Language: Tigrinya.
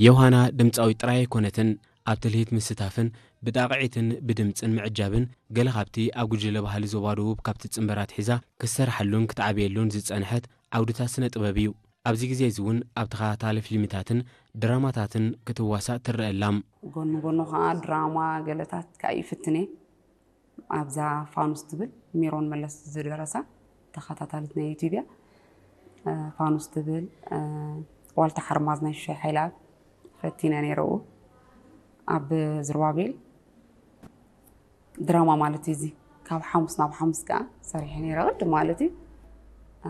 ዮሃና ድምፃዊት ጥራይ ኣይኮነትን። ኣብ ትልሂት ምስታፍን ብጣቕዒትን ብድምፅን ምዕጃብን ገለ ካብቲ ኣብ ጉጅለ ባህሊ ዞባ ደቡብ ካብ ትፅንበር ኣትሒዛ ክትሰርሓሉን ክትዓብየሉን ዝፀንሐት ዓውድታት ስነ ጥበብ እዩ። ኣብዚ ግዜ እዚ እውን ኣብ ተኸታታሊ ፊልምታትን ድራማታትን ክትዋሳእ ትረአ ኣላ። ጎኒ ጎኑ ከዓ ድራማ ገለታት ከዓ ይፍትን እየ። ኣብዛ ፋኑስ ትብል ሜሮን መለስ ዝደረሳ ተኸታታሊት ናይ ዩቲዩብ እያ። ፋኑስ ትብል፣ ዋልታ ሓርማዝ ናይ ሹሻይ ሓይልኣብ ፈቲነ ነይረ። ኣብ ዝርባቤል ድራማ ማለት እዩ። እዚ ካብ ሓሙስ ናብ ሓሙስ ከዓ ሰሪሐ ነይረ ቅድም ማለት እዩ።